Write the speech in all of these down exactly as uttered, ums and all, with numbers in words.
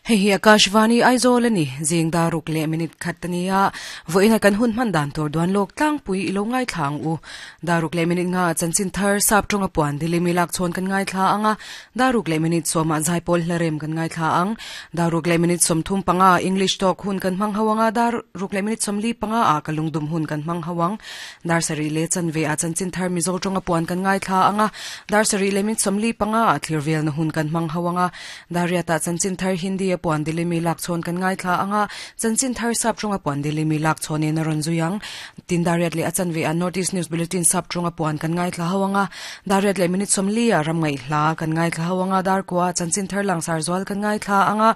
Hei hi Akashvani Aizawl ani zing daruk le minute khatania voina kan hun man dan tur duan lok tlang pui ilo ngai thlang u daruk le minute nga chanchin thar sap tonga puan dili milak chon kan ngai thla anga daruk le minute soma zaipol hlarem kan ngai thla ang daruk le minute som thum panga English talk hun kan mang hawanga daruk le minute som li panga a kalungdum hun kan mang hawang dar sari le chanve a chanchin thar mizo tonga puan kan ngai thla anga dar sari le minute som li panga a thlirvel na hun kan mang hawanga dariata chanchin thar Hindi puan dili mi lak chon kan ngai thla anga chanchin thar sap chunga puan dili mi lak chon in ron zuyang tin dariat le achan ve a notice news bulletin sap chunga puan kan ngai thla hawanga dariat le minute som li a ram ngai hla kan ngai thla hawanga dar kwa chanchin thar lang sar zwal kan ngai thla anga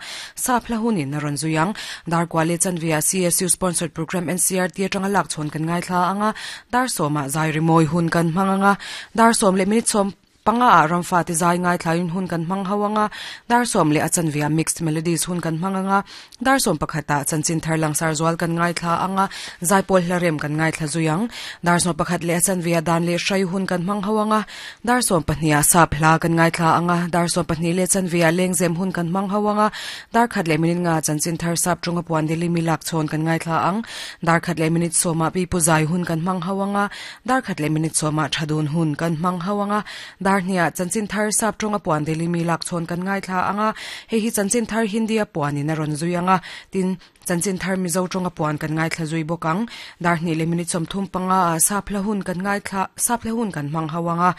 sap hla hunin ron zuyang dar kwa le chan ve a C S U sponsored program N C R T atanga lak chon kan ngai thla anga dar soma zai rimoi hun kan manganga dar som le minute som panga a ramfa ti zai ngai thlain hun kan mang hawanga dar som le achan via mixed melodies hun kan manganga dar som pakhata chanchin tharlang sar zwal kan ngai thla anga zaipol hlarem kan ngai thla zuyang dar som pakhat le achan via dan le shai hun kan mang hawanga dar som pahnia sap hla kan ngai thla anga dar som pahni le chan via lengzem hun kan mang hawanga dar khat le minute nga chanchin thar sap chunga puan dili milak chon kan ngai thla ang dar khat le minute soma pi pu zai hun kan mang hawanga dar khat le minute soma thadun hun kan mang hawanga dar nia chanchin thar sap tonga puan deli mi lak chon kan ngai thla anga he hi chanchin thar Hindi a puan in ron zuianga tin chanchin thar mizo tonga puan kan ngai thla zui bokang dar ni le minute som thum panga sap hla hun kan ngai thla sap hla hun kan mang hawanga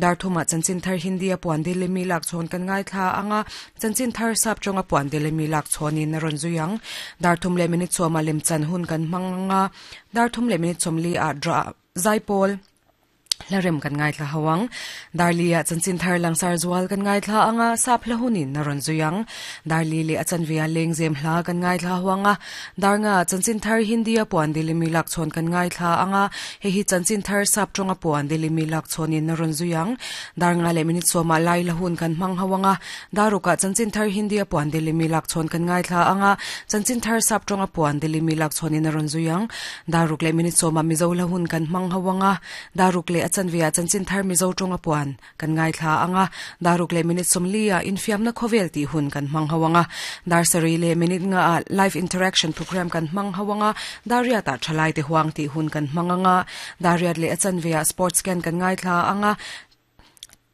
dar thuma chanchin thar Hindi a puan deli mi lak chon kan ngai thla anga chanchin thar sap tonga puan deli mi lak chon in ron zuyang dar thum le minute soma lem chan hun kan manganga dar thum le minute som li a dra zaipol larem kan ngai thla hawang darlia chanchin thar langsar zual kan ngai thla anga sap hla hunin naron zuyang darli le achan via lengzem hla kan ngai thla hawanga darnga chanchin thar Hindi a puan dili mi lak chon kan ngai thla anga he hi chanchin thar sap tonga puan dili mi lak chonin naron zuyang darnga le minute soma lai la hun kan mang hawanga daruka chanchin thar Hindi a puan dili mi lak chon kan ngai thla anga chanchin thar sap tonga puan dili mi lak chonin naron zuyang daruk le minute soma mizo la hun kan mang hawanga daruk le achan via chanchin thar mizo tonga puan kan ngai thla anga daruk le minute somlia infiam na khovel ti hun kan mang hawanga dar sari le minute nga live interaction program kan mang hawanga daria ta thalai te huang ti hun kan manganga daria le achan via sports can kan ngai thla anga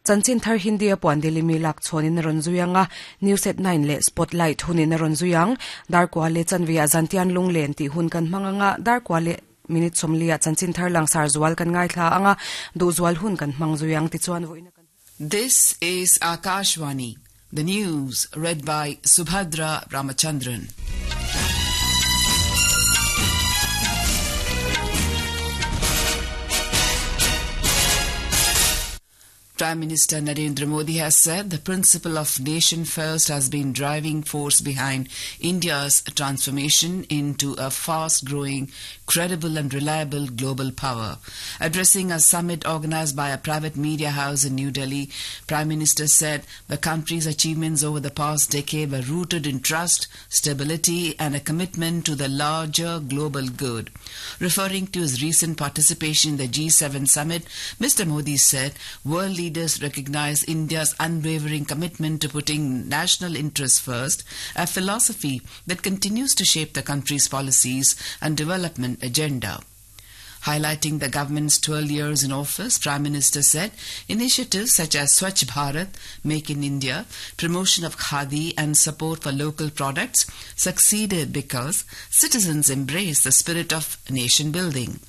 chanchin thar Hindi a puan dili mi lak chonin ron zuyanga news at nine le spotlight hunin ron zuyang dar kwa le chanvia zantian lunglen ti hun kan manganga dar kwa le minute somlia chanchin thar lang sar zual kan ngai thla anga du zual hun kan mang zuyang ti chuan voina kan. This is Akashvani, the news read by Subhadra Ramachandran. Prime Minister Narendra Modi has said the principle of nation first has been driving force behind India's transformation into a fast-growing, credible and reliable global power. Addressing a summit organized by a private media house in New Delhi, Prime Minister said the country's achievements over the past decade were rooted in trust, stability and a commitment to the larger global good. Referring to his recent participation in the G seven summit, Mister Modi said world leaders recognize India's unwavering commitment to putting national interests first, a philosophy that continues to shape the country's policies and development agenda. Highlighting the government's twelve years in office, Prime Minister said initiatives such as Swachh Bharat, Make in India, promotion of Khadi and support for local products succeeded because citizens embraced the spirit of nation building.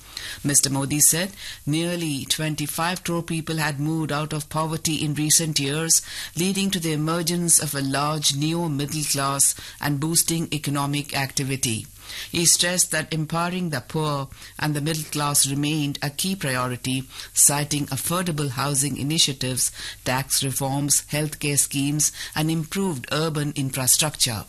Mister Modi said nearly twenty-five crore people had moved out of poverty in recent years, leading to the emergence of a large new middle class and boosting economic activity. He stressed that empowering the poor and the middle class remained a key priority, citing affordable housing initiatives, tax reforms, healthcare schemes, and improved urban infrastructure.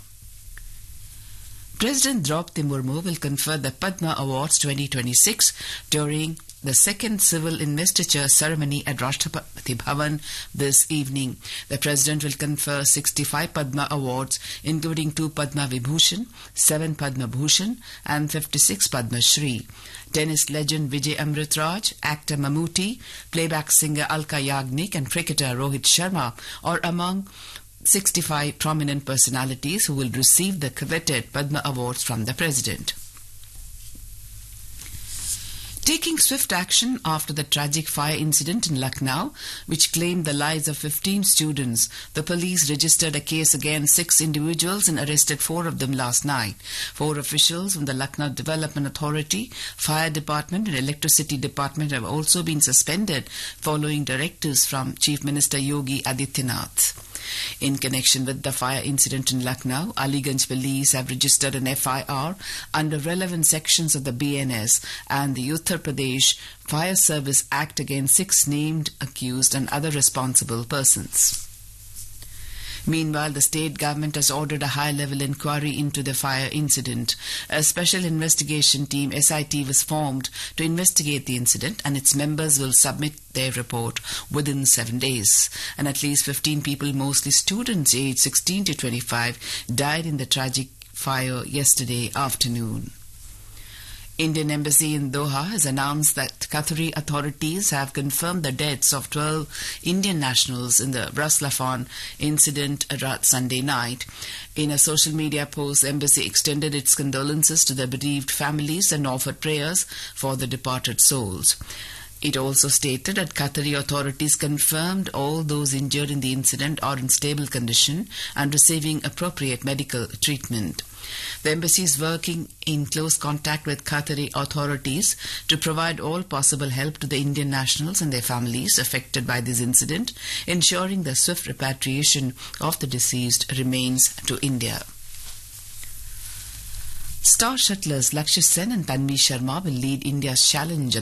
President Draupadi Murmu will confer the Padma Awards twenty twenty-six during the second civil investiture ceremony at Rashtrapati Bhavan this evening. The President will confer sixty-five Padma Awards, including two Padma Vibhushan, seven Padma Bhushan and fifty-six Padma Shri. Tennis legend Vijay Amritraj, actor Mammootty, playback singer Alka Yagnik and cricketer Rohit Sharma are among sixty-five prominent personalities who will receive the coveted Padma Awards from the President. Taking swift action after the tragic fire incident in Lucknow, which claimed the lives of fifteen students, the police registered a case against six individuals and arrested four of them last night. Four officials from the Lucknow Development Authority, Fire Department and Electricity Department have also been suspended following directives from Chief Minister Yogi Adityanath. In connection with the fire incident in Lucknow, Aliganj police have registered an F I R under relevant sections of the B N S and the Uttar Pradesh Fire Service Act against six named accused and other responsible persons. Meanwhile, the state government has ordered a high-level inquiry into the fire incident. A special investigation team, S I T, was formed to investigate the incident, and its members will submit their report within seven days. And at least fifteen people, mostly students aged sixteen to twenty-five, died in the tragic fire yesterday afternoon. Indian Embassy in Doha has announced that Qatari authorities have confirmed the deaths of twelve Indian nationals in the Ras Laffan incident Sunday night. In a social media post, the embassy extended its condolences to the bereaved families and offered prayers for the departed souls. It also stated that Qatari authorities confirmed all those injured in the incident are in stable condition and receiving appropriate medical treatment. The embassy is working in close contact with Qatari authorities to provide all possible help to the Indian nationals and their families affected by this incident, ensuring the swift repatriation of the deceased remains to India. Star shuttlers Lakshya Sen and Tanvi Sharma will lead India's challenge